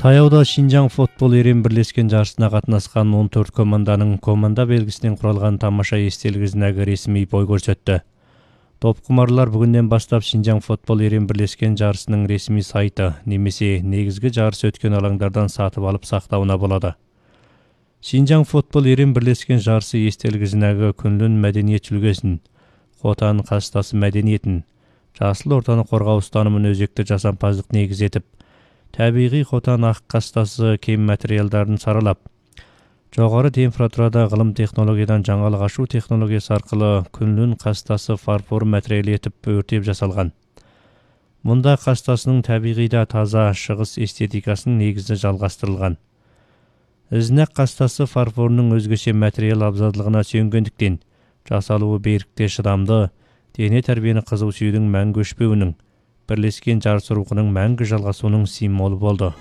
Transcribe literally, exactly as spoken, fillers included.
Таяуда Шинжаң футбол эрен бирлешкен жарышына катнашкан он төрт команданын команда белгисинен куралган тамаша эстелик изинаги ресми бой көрсөттү. Топкумарлар бүгүндөн баштап Шинжаң футбол эрен бирлешкен жарышынын ресми сайты немесе негизги жарыш өткөн алаңдардан сатып алып сактауына болот. Шинжаң футбол эрен бирлешкен жарышы эстелик изинаги күндүн мәдениет жүлгесин, Хотан кастасы мәдениетин, жасыл ортаны коргоо устанымын өзөктө жасампаздык негиз этип, табигый Хотан ак кастасы кем материалдарын саралап, жогору температурада кылым технологиядан жаңылык ашуу технологиясы аркылуу күндүн кастасы фарфор материалы этип өртөп жасалган. Мында кастасынын табигыйда таза шыгыс эстетикасынын негизи жалгастырылган. Изнак кастасы фарфорунун өзгөчө материал абзалдыгына сүйөнгөндүктөн жасалуу беркикте шыдамдуу, дене тарбияны кызуу сүйүүнүн мәңгү өчпөөнүн, бирлешкен жарыш рухунун мәңгү жалгасуунун символу болду.